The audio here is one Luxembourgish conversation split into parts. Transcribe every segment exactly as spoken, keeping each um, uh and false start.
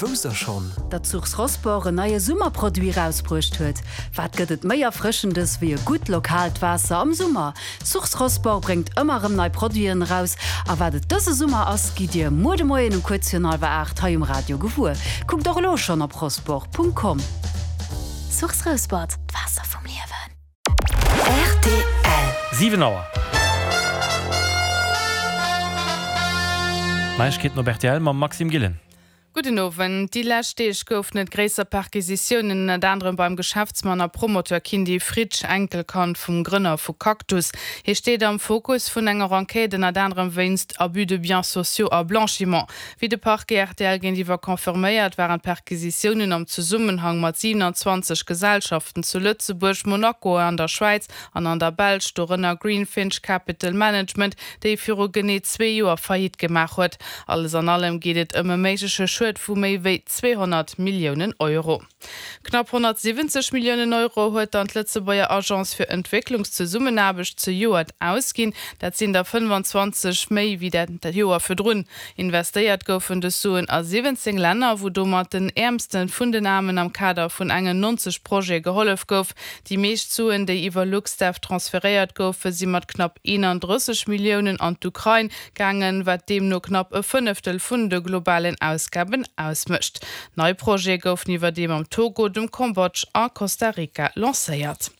Wousst der schonn? Datt Source Rosport en neie Summerproduit rausbruecht huet? Wat gëtt et méi Erfrëschendes wéi e gutt lokaalt Waasser am Summer? Source Rosport bréngt ëmmer erëm nei Produiten eraus a wat et dëse Summer ass, gitt Dir muer de Moien um kuerz virun hallwer aacht hei um Radio gewuer. Kuckt och elo schonn op rosport.com. Source Rosport, d'Waasser vum Liewen. Rtl. Siwen Auer. Neiegkeeten op rtl mam Maxime Gillen. Gudden Owend. Déi lescht Deeg goufen et gréisser Perquisitiounen, ënnert anerem beim Geschäftsmann a Promoteur Kindy Fritsch, Enkelkand vum Grënner vu Cactus. Hie steet am Fokus vun enger Enquête, ënnert anerem wéinst Abus de biens sociaux a Blanchiment. Wéi de Parquet rtl géintiwwer confirméiert, waren d'Perquisitiounen am Zesummenhang mat siewenanzwanzeg Gesellschaften zu Lëtzebuerg, Monaco, an der Schwäiz an an der Belsch, dorënner Greenfinch Capital Management, déi viru genee zwee Joer Faillite gemaach huet. Alles an allem geet et ëm e méigleche Schued vu méi wéi zweehonnert Milliounen Euro. Knapp honnertsiwwenzeg Milliounen Euro huet dann d'Lëtzebuerger Agence fir Entwécklungszesummenaarbecht zejoert ausginn. Dat sinn der fënnfanzwanzeg méi wéi dat Joer virdrun. Investéiert goufen dës Suen a siwwenzéng Länner, wou domat den Äermste vun den Aarmen am Kader vun engen nonzeg Projete gehollef gouf. Déi meescht Suen, déi iwwer LuxDev transferéiert goufen, si mat knapp eenandrësseg Milliounen an d'Ukrain gaangen, wat deemno knapp e Fënneftel vun de globalen Ausgaben ausmécht. Nei Projete goufen iwwerdeem am Togo, dem Kambodsch a Costa Rica lancéiert.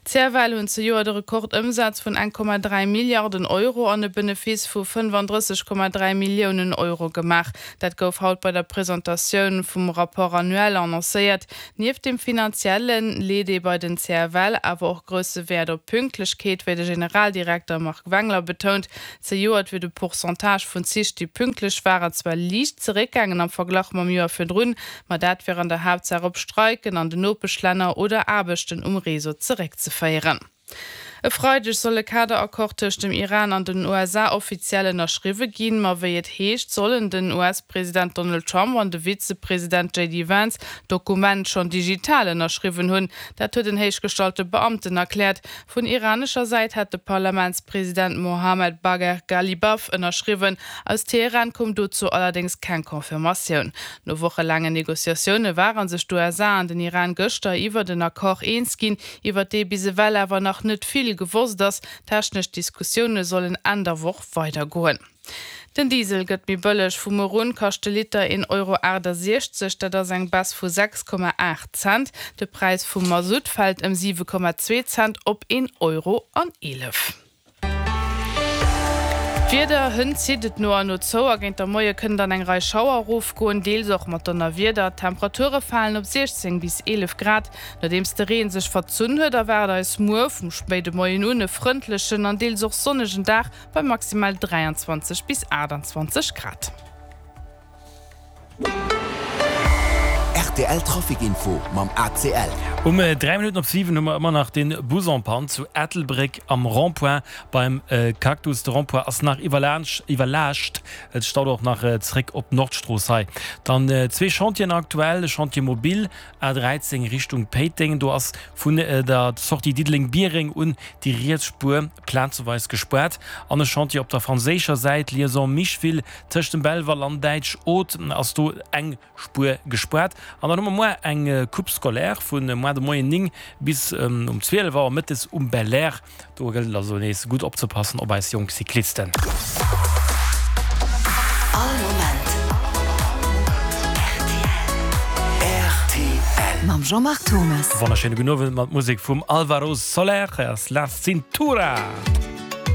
D'CFL hunn zejoert e Rekordëmsaz vun eng Komma dräi Milliarden Euro an e Benefice vu fënnfandrësseg Komma dräi Milliounen Euro gemaach. Dat gouf haut bei der Presentatioun vum Rapport annuel annoncéiert. Nieft dem Finanzielle leet ee bei den C F L awer och grousse Wäert op Pünktlechkeet, wéi de Generaldirekter Marc Wengler betount. Zejoert wier de Pourcentage vun Zich, déi pünktlech waren, zwar liicht zeréckgaangen am Verglach mam Joer virdrun, ma dat wier an der Haaptsaach op Streiken an den Nopeschlänner oder Aarbechten um Réseau zeréckzeféieren. E Freideg soll e Kaderaccord tëscht dem Iran an den U S A offiziell ënnerschriwwe ginn. Ma wéi et heescht, sollen den U S-President Donald Trump an de Vizepresident J D Vance d'Dokument schonn digital ënnerschriwwen hunn. Dat huet en héichgestallte Beamten erkläert. Vun iranescher Säit hätt de Parlamentspresident Mohammed Bagher Ghalibaf ënnerschriwwen. Aus Teheran koum dozou allerdéngs keng Confirmatioun. No wochelaangen Negociatioune ware sech d'U S A an den Iran gëschter iwwert en Accord eens ginn, iwwert dee bis ewell awer nach net vill gewosst ass. Technesch Diskussioune sollen Enn der Woch weidergoen. Den Diesel gëtt méi bëlleg, Vu muer un kascht de Liter een Euro aachtasechzeg, dat ass eng Baisse vu sechs Komma aacht Cent. De Präis vum Masutt fält ëm siwe Komma zwee Cent op een Euro an eelef. D'Wieder, Hënt zitt et no an no zou a géint der Moie kënnen dann eng Rei Schauer erofgoen, deels och mat Donnerwieder. D'Temperature falen op siechzéng bis eelef Grad. Nodeems de Reen sech verzunn huet, erwaart eis muer vum spéide Moien un e frëndlechen an deels och sonnegen Dag bei maximal dräianzwanzeg bis aachtanzwanzeg Grad. Rtl Trafic Info mam A C L. Um dräi Minutten op siwen hu mer ëmmer nach den Bus en panne zu Ettelbréck am Rond-point beim Cactus. De Rond-point ass nach iwwerlaascht, et staut och nach zréck op d'Nordstrooss hei. Dann zwee Chantieren aktuell, de Chantier mobile A dräizéng Richtung Péiteng, do ass vun der Sortie Diddeleng-Biereng un déi riets Spuer plazeweis gespaart an e Chantier op der franséischer Säit, Liaison Micheville, tëscht dem Belval an Däitsch-Oth ass do eng Spuer gespaart. An dann hu mer muer eng Coupe scolaire vun muer de Moien néng bis um zwielef Auer mëttes um Belair. Do gëllt et also nees gutt opzepassen op eis jonk Cyclisten. All Moment R T L. Mam Jean-Marc Thomas. Wonnerschéine gudden Owend mat Musek vum Alvaro Soler. Hei ass La Cintura.